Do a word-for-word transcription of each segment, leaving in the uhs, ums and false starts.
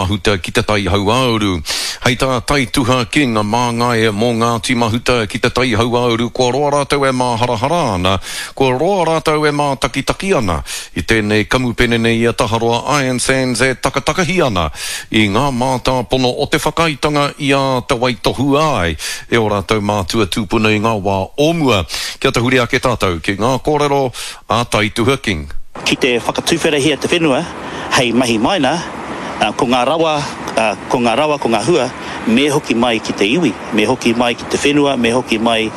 Mahuta ki Te Tai Hauāuru. Hei tā Taituha King, māngai mō Ngāti Mahuta ki Te Tai Hauāuru, kua roa rātou e māharahara ana, kua roa rātou e mātakitaki ana i tēnei kamupene nei a Taharoa Iron Sands e takatakahi ana i ngā mātāpono o te whakaaetanga i āta waitohua ai e ō rātou mātua tūpuna i ngā wā o mua. Kia tahuri ake tātou ki ngā kōrero a Taituha King. Ki te whakatuwherahia te whenua hei mahi maina, ko ngā rawa, ko ngā rawa, ko ngā hua, me hoki mai ki te iwi, me hoki mai ki te whenua, me hoki mai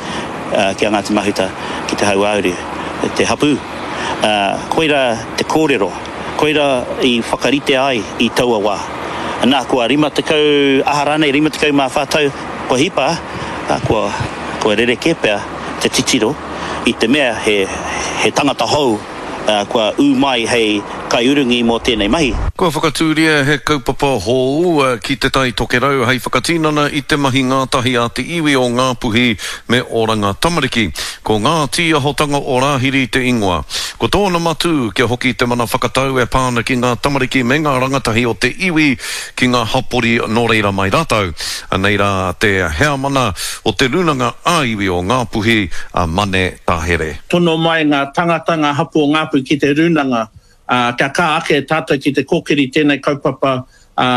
ki a Ngāti Mahuta, ki Te Hauāuru, te hapū. Koirā te kōrero, koirā i whakarite ai i taua wā. Nā, kua rima tekau, aha rānei, rima tekau mā whā tau kua hipa, kua, kua rerekē pea te titiro i te mea he, he tangata hou kua ū mai hei kaiurungi mō tēnei mahi. Kua whakatūria he kaupapa hou ki Te Tai Tokerau hei whakatinana i te mahi ngātahi a te iwi o Ngāpuhi me Oranga Tamariki. Ko Ngā Tīahotanga o Rāhiri te ingoa. Ko tōna matū kia hoki te mana whakatau e pā ana ki ngā tamariki me ngā rangatahi o te iwi ki ngā hapori nō reira mai rātou. Anei rā te heamana o te Rūnanga ā-Iwi o Ngāpuhi, a Mane Tahere. Tono mai ngā tangata, ngā hapū o Ngāpuhi ki te rūnanga, ā, kia kā ake tātou ki te kōkiri tēnei kaupapa, ā,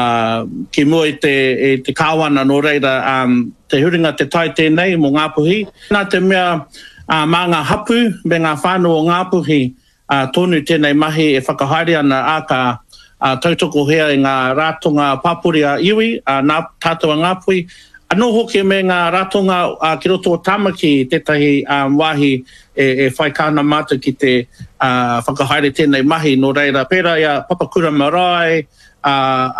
ki mua i te, i te Kāwana, nō reira, ā, te huringa te tai tēnei mō Ngāpuhi. Nā te mea, ā, mā ngā hapū me ngā whānau o Ngāpuhi, ā, tonu tēnei mahi e whakahaere ana, ā, ka, ā, tautokohia e ngā ratonga pāpori ā-iwi, ā, nā tātou a Ngāpuhi, anō hoki me ngā ratonga, ā, ki roto o Tāmaki tētahi, ā, wāhi e, e whai kaha ana mātou ki te, ā, whakahaere tēnei mahi, nō reira, pērā i a Papakura Marae, ā,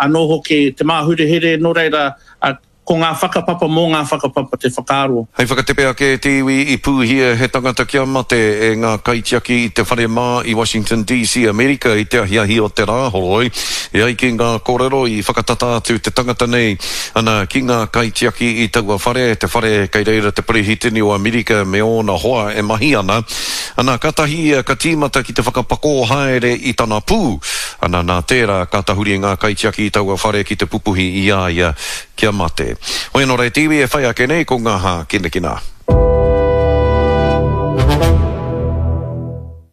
anō hoki Te Māhurehure, nō reira, ā, Ko ngā whakapapa mō ngā whakapapa te whakaaro. Hei whakatepe ake e te iwi i pūhia he tangata kia mate e ngā kaitiaki i te whare mā i Washington DC, Amerika i te ahiahi o te Rāhoroi. E ai ki ngā kōrero i whakatata atu te tangata nei ana ki ngā kaitiaki i taua whare, te whare kei reira te Perehitini o Amerika me ōna hoa e mahi ana. Ana, kātahi ia ka tīmata ki te whakapakō haere i tana pū. Ana, nā tērā ka tahuri ngā kaitiaki i taua whare ki te pupuhi i a ia Kia mate. Hoi anō rā e te iwi e whai ake nei ko ngā hākinakina.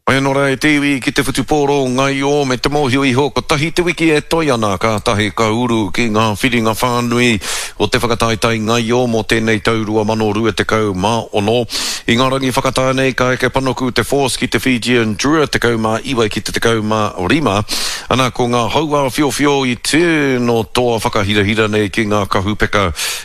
Hoi anō rā e te iwi ki te whutupōro ngaio me te mōhio iho kotahi te wiki e toe ana kātahi ka uru ki ngā whiringa whānui o te whakataetae ngaio mō tēnei tau rua mano rua tekau mā ono. I ngā rangi whakatā nei ka eke panuku te Force ki te Fijian Drua tekau mā iwa ki te tekau mā rima. Ana ko ngā hauāwhiowhio i tino toa whakahirahira nei ki ngā kahupeka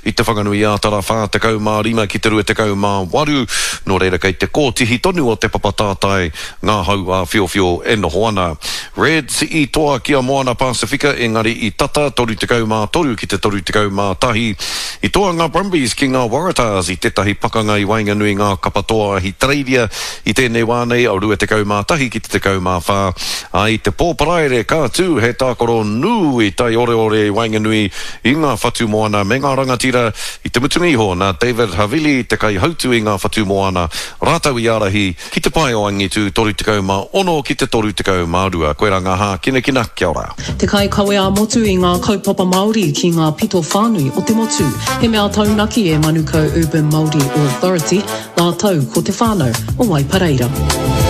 i Te Whanganui-ā-Tara whā tekau mā rima ki te rua tekau mā waru, nō reira kei te kōtihi tonu o te papa tātai ngā hauāwhiowhio e noho ana. Reds i toa ki a Moana Pasifika engari i tata toru tekau mā toru ki te toru tekau mā tahi. I toa ngā Brumbies ki ngā Waratahs i tētahi pakanga i waenganui ngā kapa toa Ahitereiria I tēnei wā nei, rua tekau mā tahi ki te tekau mā whā, ā, i te pō Paraire ka tū he tākaro nui taioreore i waenganui i ngā whatu moana me ngā rangatira. I te mutunga iho, nā David Havili te kaihautu i ngā whatu moana rātou i ārahi ki te pae o angitu toru tekau mā ono ki te toru tekau mā rua. Koirā ngā hākinakina, kia ora. Te kaikawe ā-motu i ngā kaupapa Māori ki ngā pito whānui o te motu. He mea taunaki e Manukau Urban Māori Authority, rātou ko te whānau o Waipareira.